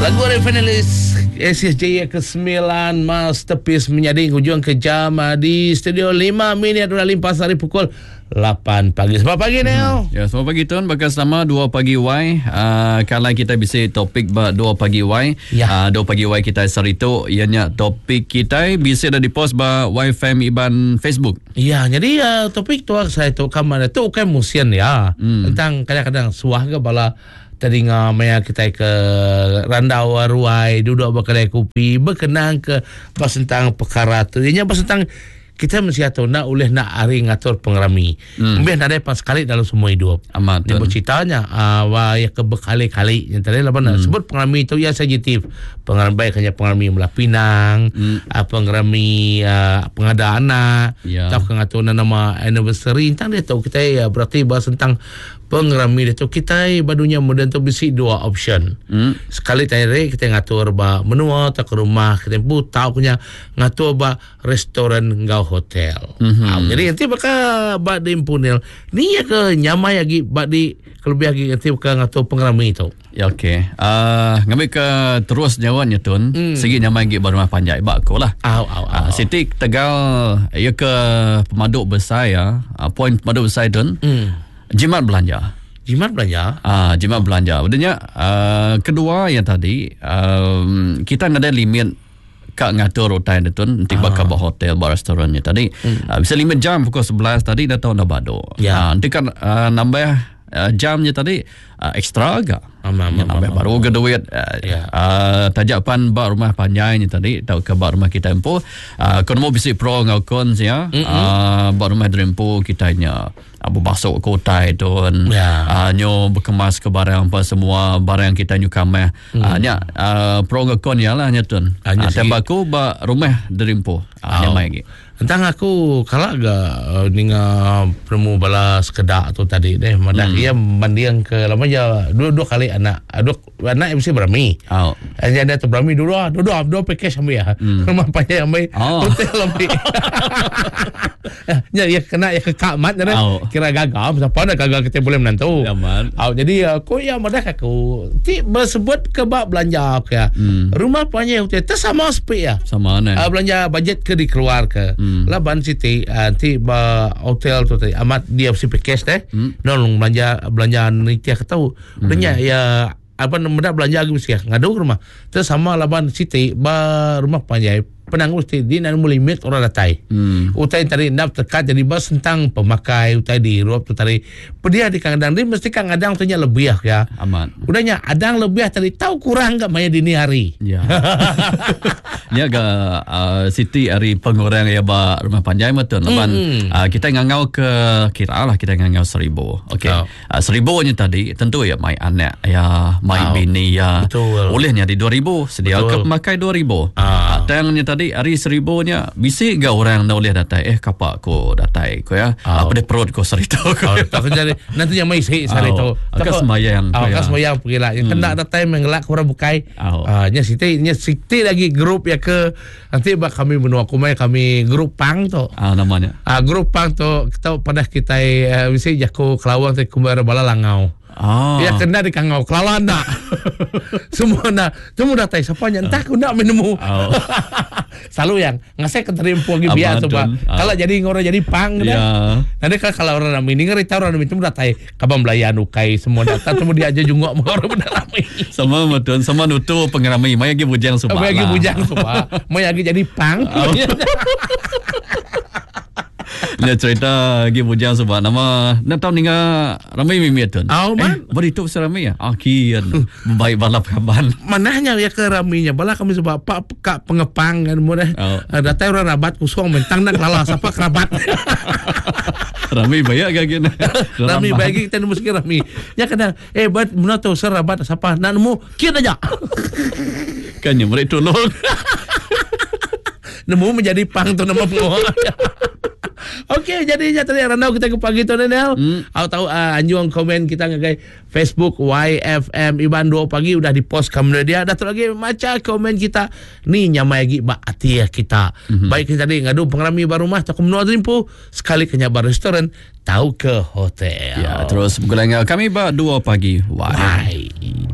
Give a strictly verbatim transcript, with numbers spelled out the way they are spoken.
Lagu dari finalis S S J kesembilan, Masterpiece, menjadi hujung ke jam ah, di studio lima minit sudah limpas hari pukul lapan pagi. Selamat pagi, Neil. Ya, selamat pagi tuan. Bakal selama dua pagi Y. Uh, kalau kita bisa topik ba dua pagi Y. Ya. Uh, dua pagi Y kita hari itu ianya topik kita bisa dah dipost ba Y F M Iban Facebook. Ya, jadi uh, topik tu saya tu kamar tu bukan musim ya. Hmm. Tentang kadang-kadang suah ke bala tadi maya kita ke randau ruai duduk berkedai kopi berkenang ke pas tentang perkara tu. Ianya pas tentang kita mesti tahu nak boleh nak hari ngatur pengerami. Hmm. Mungkin ada pas sekali dalam semua hidup. Amat. Dia tuan. Berceritanya uh, wah ya ke berkali-kali yang tadi lah hmm. sebut pengerami itu ya sensitif. Pengerami baik hanya pengerami Melah Pinang, hmm. uh, pengerami uh, pengada anak, Ya. atau ngatur nama anniversary. Tentang dia tahu kita ya berarti bahas tentang pengerami dia tu kita badunya moden tu bisi dua option. Hmm. Sekali tadi kita ngatur ba menua atau ke rumah kita pun tahu punya ngatur ba restoran ngau hotel. Mm-hmm. Ha, jadi nanti bakal ba di impunil ni ya ke nyamai lagi ba di kelebih lagi nanti bakal ngatur pengerami itu. Ya, okey. Uh, ngambil ke terus jawabnya tuan. Hmm. Segi nyamai lagi ba rumah panjai ba aku lah. Au au au. Uh, Siti Tegal ya ke pemaduk besar ya. Uh, poin pemaduk besar tuan. Hmm. Jimat belanja. Jimat belanja. Ah, jimat belanja. Maksudnya uh, kedua yang tadi um, kita ada limit kak ngatur utai dia tu nanti bakal buat hotel, buat restorannya tadi. Hmm. Uh, bisa limit jam pukul sebelas tadi dah tahu dah bado. Ya. Ah, nanti kan uh, nambah uh, jamnya tadi uh, ekstra agak. Am, am, Ya, am, nambah am, baru ke duit. Uh, Ya. uh, tajapan bak rumah panjai ni tadi atau ke bak rumah kita empu uh, kono mau bisi pro ngau cons ya. Uh, bak rumah dreampu kita nya abu basuk ke utai tu Ya. uh, nyo berkemas ke barang apa semua barang kita nyu kameh. Mm. Uh, nya uh, pro ngau con ya lah nya tun. Ah, nya Uh, segi- tembak aku bak rumah dreampu. Uh, Oh. nyamai lagi. Tentang aku kalau agak uh, ninga peremu bala sekedak tu tadi deh madah hmm. ia banding ke lama je dua dua kali anak dua anak M C berami. Oh. Hanya ada tu berami dua dua dua dua package ambil ya. Hmm. Rumah panjang ambil, Oh. hotel ambil. Ya, ya kena ya ke kak mat jadi Oh. kira gagal siapa nak gagal kita boleh menantu. Ya, man. Oh, jadi uh, ko ya madah aku ti bersebut ke bab belanja aku ya. Hmm. Rumah panjang hotel tersama sepi ya. Sama ni. Uh, belanja bajet ke dikeluar ke. Hmm. Laban Siti uh, nanti ba hotel tu tadi amat dia si package deh. Hmm. Nolong belanja belanja ni tiap tahu. Hmm. Udahnya ya apa nama belanja lagi mesti ngadu ke rumah. Terus sama laban Siti ba rumah panjai penanggung mesti dia nak limit orang datai. Hmm. Utai tadi nak terkat jadi bas tentang pemakai utai di Europe tu tadi. Pedia di kang adang dia mesti kang adang tu nya lebih ya. Amat. Udahnya adang lebih tadi tahu kurang enggak maya dini hari. Ya. Dia agak uh, Siti hari pengurang ya ba rumah panjai betul. Laban Mm. uh, kita ngangau ke kira lah kita ngangau seribu. Okey. Oh. Uh, seribu nya tadi tentu ya mai anak ya, mai Oh. bini ya. Betul. Olehnya di dua ribu sedia Betul. ke pemakai dua ribu. Ah. Uh, tangnya tadi hari seribu nya bisi ga orang dah boleh datai eh kapak ko datai ko ya. Oh. Apa dia perut ko serita ko. Oh, tak jadi nanti yang mai sih sari Oh, tu. agak semayang Oh, ko ya. agak semayang pergi lah. Yang kena datang mengelak orang bukai. Oh. Ah, nya Siti, nya Siti lagi grup ya ke nanti bak kami menua kumai kami grup pang tu. Ah, namanya. Ah, grup pang tu kita pada kita uh, mesti jaku kelawang tu kumbar bala langau. Ah. Ya kena di kangau kelalan nak. Semua nak. Semua datang siapa nya entah aku nak menemu. Oh. Selalu yang ngasih keterimpu lagi biar tu Amadun. pak. Ah. Kalau jadi orang jadi pang Ya. dah. Nanti kalau kalau orang rami ni ngeri tahu orang rami tu datai kabang belayan ukai semua datang semua dia aja jungok orang benda rami. Sama betul sama nutu pengerami mai lagi bujang subah. Apa lagi lah. bujang semua. Mau lagi jadi pang. Dia cerita lagi bujang sebab nama nak tahu ninga ramai mimit tu. Oh, man. Eh, beri tu ramai ya. Ah, kian. Baik balap kaban. Manahnya ya ke raminya bala kami sebab pak kak pengepang kan mu dah. Oh. Oh. Datai orang rabat kusong mentang nak lala siapa kerabat. Ramai banyak gak gini. Rami bagi kita nemu sikit rami. Ya kadang eh bat muna tu serabat siapa nak nemu kian aja. Kan yang mereka tolong. Nemu menjadi pang tu nama pengoh. Okey, jadi nya tadi randau kita ke pagi tu Nenel. Hmm. Aku tahu uh, anjung komen kita ngagai Facebook Y F M Iban dua pagi udah di post kamu dia. Dah tu lagi maca komen kita. Ni nyamai lagi bak ati ya kita. Mm-hmm. Baik kita tadi ngadu pengerami baru rumah tak menua rimpu sekali ke nyabar restoran tahu ke hotel. Ya, terus bergulai dengan kami ba dua pagi. Why? Bye.